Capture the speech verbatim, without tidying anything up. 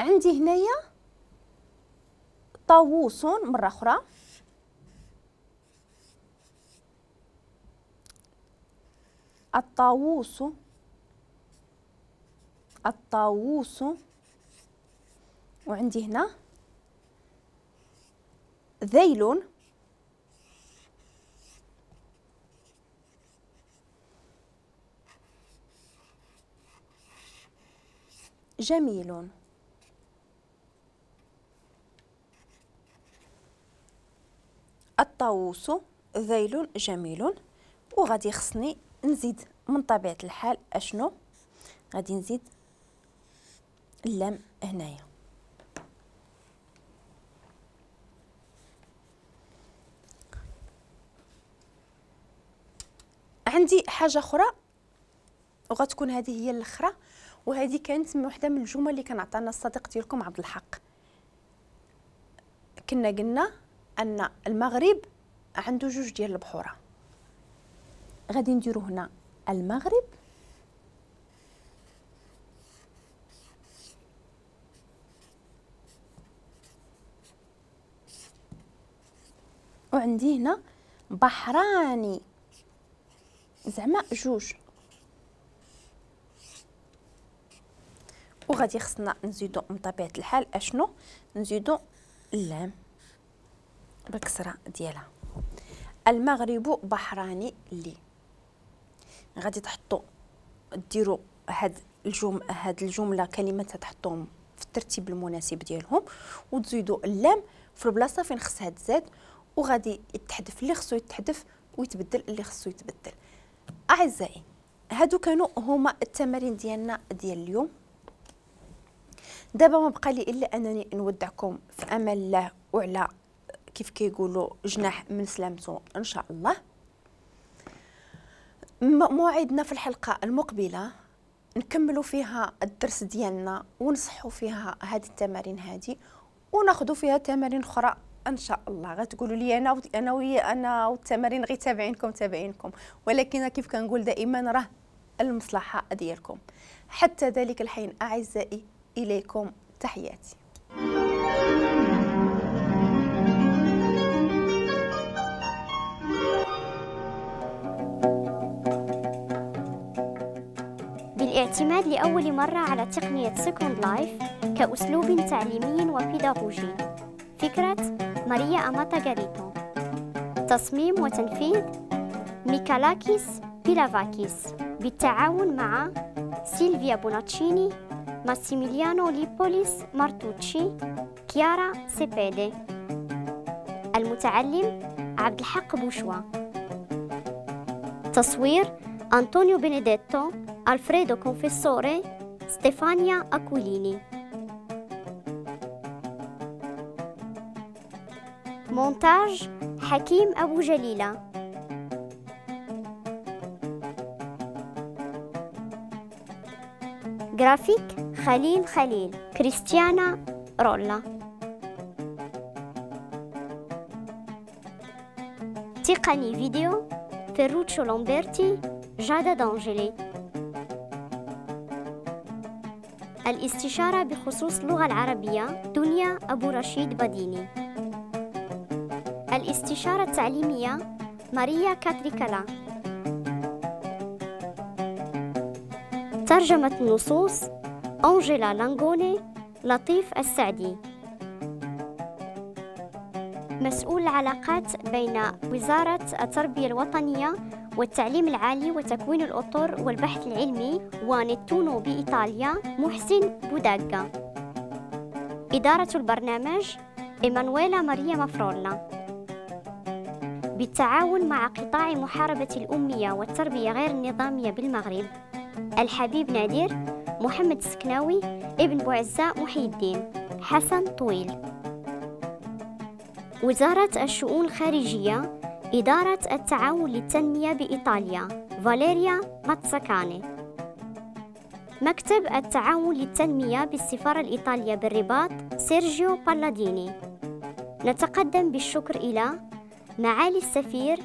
عندي هنايا طاووس مرة أخرى، الطاووس، الطاووس، وعندي هنا ذيل، جميل. الطاووس ذيل جميل. وغادي خصني نزيد من طبيعة الحال اشنو غادي نزيد؟ اللام هنايا. عندي حاجة أخرى وغتكون هذه هي الأخرى، وهذه كانت من وحدة من الجمل اللي كان عطانا الصديق ديالكم عبد الحق. كنا قلنا أن المغرب عنده جوج ديال البحورة، غادي نديرو هنا المغرب وعندي هنا بحراني، زعما جوج، وغادي خصنا نزيدو من طبيعة الحال اشنو؟ نزيدو اللام بالكسرة ديالها. المغرب بحراني لي. غادي تحطوا ديروا هاد الجم هاد الجملة كلمات تحطوهم في الترتيب المناسب ديالهم، وتزيدوا اللام في البلاصة فين خصها تزاد، وغادي يتحذف اللي خصو يتحذف ويتبدل اللي خصو يتبدل. اعزائي هادو كانوا هما التمارين ديالنا ديال اليوم. دابا ما بقى لي الا انني نودعكم في امان الله، وعلى كيف كيقولوا جناح من سلامته ان شاء الله. موعدنا في الحلقة المقبلة نكملوا فيها الدرس ديالنا ونصحوا فيها هذه التمارين هذه، وناخذوا فيها تمارين اخرى ان شاء الله. غتقولوا لي انا انا ويا انا والتمارين غير تابعينكم تابعينكم، ولكن كيف كنقول دائما راه المصلحة ديالكم. حتى ذلك الحين اعزائي، اليكم تحياتي. بالاعتماد لأول مرة على تقنية Second Life كأسلوب تعليمي وبيداغوجي. فكرة ماريا أماتا غاريتو. تصميم وتنفيذ ميكالاكيس بيلافاكيس بالتعاون مع سيلفيا بوناتشيني، ماسيميليانو ليبوليس مارتوتشي، كيارا سيبيدي. المتعلم عبد الحق بوشوا. تصوير أنطونيو بينيديتو، ألفريدو كونفيسوري، ستيفانيا أكويليني. مونتاج حكيم أبو جليلة. جرافيك خليل خليل، كريستيانا رولا. تقني فيديو فيروتشو لومبرتي، جادا دانجيلي. الاستشارة بخصوص اللغة العربية دنيا أبو رشيد بديني. الاستشارة التعليمية ماريا كاتريكالا. ترجمة النصوص أنجيلا لانغوني، لطيف السعدي. مسؤول العلاقات بين وزارة التربية الوطنية والتعليم العالي وتكوين الأطر والبحث العلمي ونتونو بإيطاليا محسن بوداغا. إدارة البرنامج إيمانويلا ماريا مافرولا. بالتعاون مع قطاع محاربة الأمية والتربية غير النظامية بالمغرب، الحبيب نادر، محمد السكناوي، ابن بوعزة محي الدين، حسن طويل. وزارة الشؤون الخارجية، إدارة التعاون للتنمية بإيطاليا، فاليريا ماتساكاني. مكتب التعاون للتنمية بالسفارة الإيطالية بالرباط، سيرجيو بالاديني. نتقدم بالشكر إلى معالي السفير